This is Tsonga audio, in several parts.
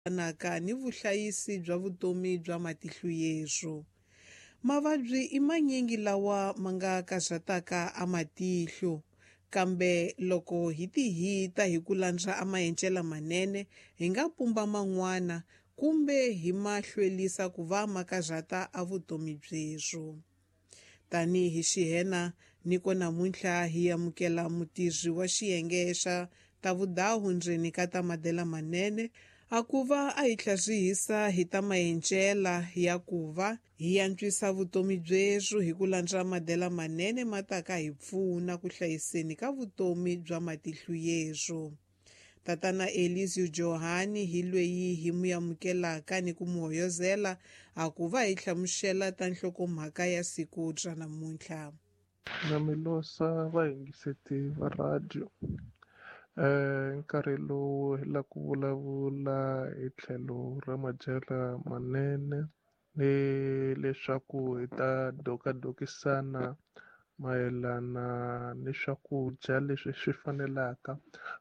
Yelanaka ni vuhlayisi bya vutomi bya matihlo yerhu. Mavabyi i manyingi lawa ma nga karhataka a matihlo, kambe loko hi tihita hi ku landza a maendlelo manene, hi nga pumba man'wana kumbe hi ma hlwelisa ku va ma karhata a vutomi byerhu. Tanihi xihena niko namuntlha hi amukela mutirhi wa xiyenge xa ta vudahu ndzeni ka ta madela manene a ku va a hi tlharihisa hi ta maendlela ya ku va hi antswisa vutomi byerhu hi ku landza madela manene ma taka hi pfuna ku hlayiseni ka vutomi bya matihlo yerhu. Tatana Elisio Johani hi lweyi hi mu amukelaka ni ku mu hoyozela a ku va hi hlamusela ta nhlokomhaka ya siku ra namuntlha. Na mi losa vayingiseti va radio. Nkarhi lowu hi la ku vulavula hi tlhelo ra madyelo manene ni leswaku hi ta dokadokisana mayelana ni swakudya leswi swi fanelaka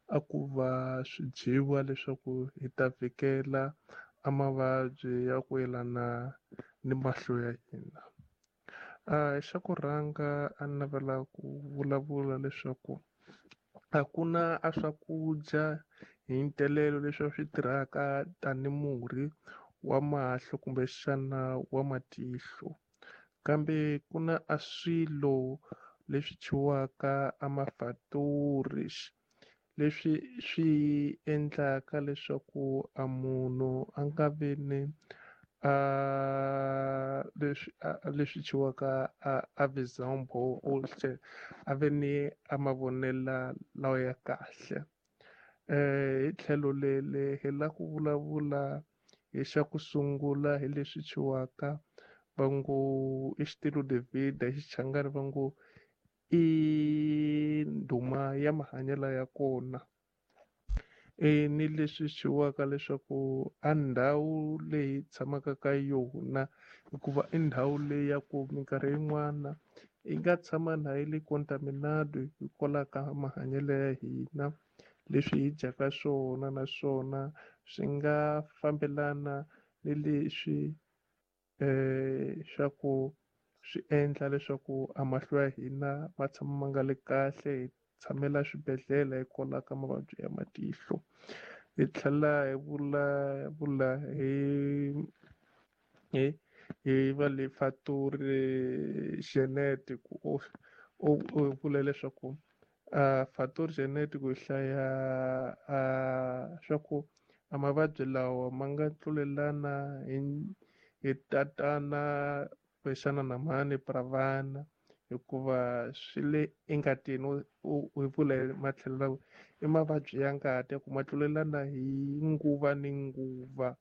a ku va swi dyiwa leswaku hi ta vhikela a mavabyi ya ku yelana ni mahlo ya hina. Xa ku rhanga a ni navela ku vulavula leswaku a ku na a swakudya hi ntelelo leswi swi tirhaka tani murhi wa mahlo kumbexana wa matihlo, kambe ku na a swilo leswi thyiwaka a mafatori leswi swi endlaka leswaku a munhu a nga vi ni a leswi leswi thyiwaka a vizambo a ve ni a mavonelo lawa ya kahle. Hi tlhelo lele hi la ku vulavula hi xa ku sungula hi leswi thyiwaka va ngo i xitilo David hi Xichangani va ngo i ndhuma ya mahanyelo ya kona. Ni leswi thyiwaka leswaku a ndhawu leyi tshamaka ka yona, hikuva i ndhawu leyi ya ku minkarhi yin'wana yi nga tshama na yi le contaminado hikwalaho ka mahanyelo ya hina, leswi hi dyaka swona naswona swi nga fambelana ni leswi swa ku swi endla leswaku a mahlo ya hina ma tshama ma nga le kahle, hi tshamela swibedhlele hikwalaho ka mavabyi ya matihlo. Hi tlhela hi vulavula hi va le fatori genetic ku u vula leswaku fatori genetic ku hlaya swa ku a mavabyi lawa ma nga tlulelana hi tatana kumbexana na mhani pravana, hikuva swi le engatini. U vula hi matlhelo lawa i mavabyi ya ngati ya ku ma tlulelana hi nguva ni nguva.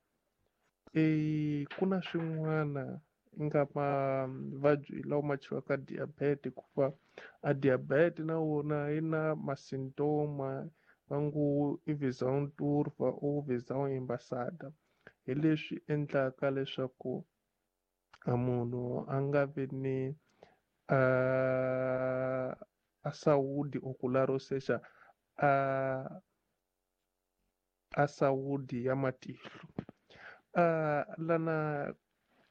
Ku na swin'wana nga mavabyi lawa ma thyiwaka diabetes, hikuva a diabetes na wona yi na masintoma va ngo i visão turva or visão embaçada, hi leswi endlaka leswaku a munhu a nga vi ni a saúde ocular, ou seja, a saúde ya matihlo. Lana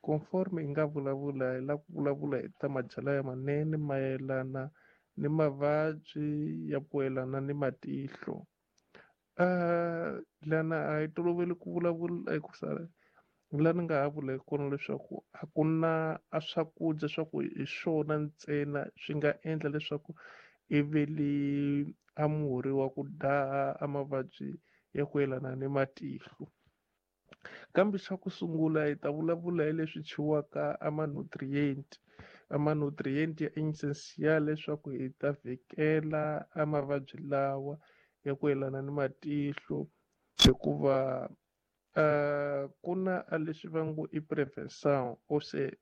conforme hi nga vulavula hi la ku vulavula hi ta madyelo ya manene mayelana ni mavabyi ya ku yelana ni matihlo. Lana a hi toloveli ku vulavula hikusa la ni nga ha vula hi kona leswaku a ku na a swakudya swa ku hi swona ntsena swi nga endla leswaku i veli a murhi wa ku daha a mavabyi ya ku yelana ni matihlo. Kambe xa ku sungula hi ta vulavula hi leswi thyiwaka a ma-nutrient, a ma-nutrient ya essential leswaku hi ta vhikela a mavabyi lawa ya ku yelana ni matihlo, hikuva ku na a leswi va ngo i prevention or se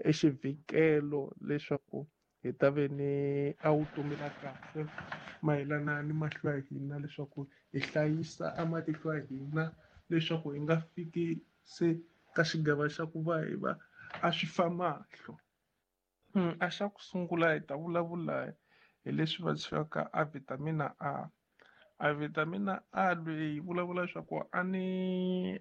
i xivhikelo leswaku hi ta ve ni a vutomi la kahle mayelana ni mahlo ya hina, leswaku hi hlayisa a matihlo ya hina leswaku hi nga fiki se ka xigava xa ku va hi va a swi fa mahlo. A xa ku sungula hi ta vulavula hi leswi va thyiwaka a vitamina A. A vitamina A leyi vulavula leswaku a ni